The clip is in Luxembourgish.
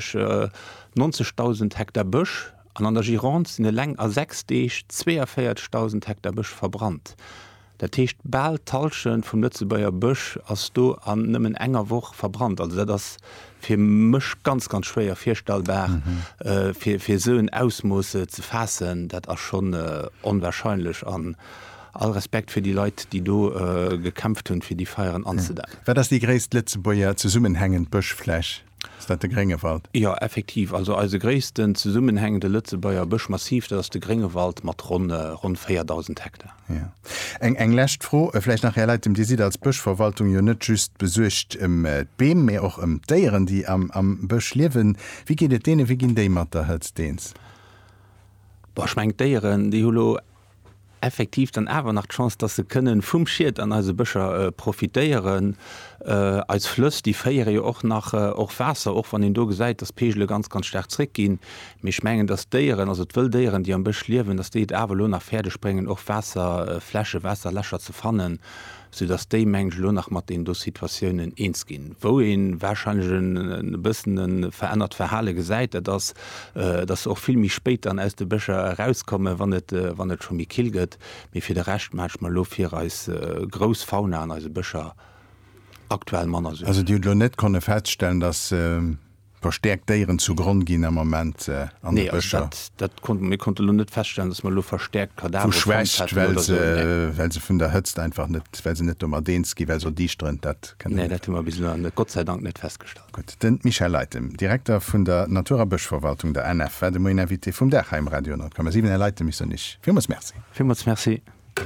90.000 Hektar Bësch an an der Gironde sinn eleng a 6 Deeg 42.000 Hektar Bësch verbrannt. Dat heescht, bal d'Hallschent vum Lëtzebuerger Bësch ass do an nëmmen enger Woch verbrannt. Also dat ass fir mech ganz, ganz schwéier virstellbar, fir esou en Ausmooss ze faassen. Dat ass schonn onwahrscheinlech an all Respekt fir déi Leit, déi do gekämpft hunn, fir déi Feieren anzedämmen. Wat ass déi gréisst Lëtzebuerger zesummenhängend Bëschfläch? Ass dat de Gréngewald? Jo, effektiv. Also eise gréissten zesummenhängende Lëtzebuerger Bëschmassiv, dat ass de Gréngewald mat ronn ronn 4.000 Hektar. Jo. Eng eng lescht Fro vläicht nach, Här Leitem, Dir sidd als Bëschverwaltung jo net just besuergt ëm d'Beem, mee och ëm d'Déieren, déi am am Bësch liewen. Wéi geet et deenen? Wéi ginn déi mat der Hëtzt eens? Bon, ech mengen d'Déieren, déi hu lo effektiv dann awer nach d'Chance, dass se kënnen vum Schied an eise Bëscher profitéieren. Eis Flëss, déi féiere jo och nach och Waasser, och wann een do gesäit, dass d'Peegele ganz, ganz staark zréckginn. Mee ech mengen, dass d'Déieren, also d'wëll Déieren, déi am Bësch liewen, dass déi et awer elo nach fäerdeg bréngen, och Waasserflächen, Waasserlächer ze fannen. sou dass déi, mengen ech, elo nach mat deenen do Situatiounen eens ginn. Wou ee wahrscheinlech e bëssen e verännert Verhale gesäit, dat ass, dass se och vill méi spéit dann aus de Bëscher erauskommen, wann et, wann et scho méi kill gëtt. Mee fir de Rescht maache ech mer elo fir eis grouss Fauna an eise Bëscher aktuell manner Suergen. Also Dir hutt elo net konne feststellen, dass Verstäerkt Déieren zu Gronn ginn am Moment an de Bëscher. Nee, also dat konnte mir konnte lo net feststellen, dass mer elo verstäerkt Kadavere fonnt hätten oder esou. Vu Schwächt, well se, well se vun der Hëtzt einfach net, well se net domat eens ginn, well se erdiischteren, dat kënne mer net. Nee, dat hu mer bis elo net, Gott sei Dank net festgestallt. Gutt. De Michel Leytem, Direkter vun der Natur a Bëschverwaltung, der ANF, war de Moien Invité vum Dag hei um Radio 10,7. Här Leytem, ech soen Iech villmools Merci. Villmools Merci.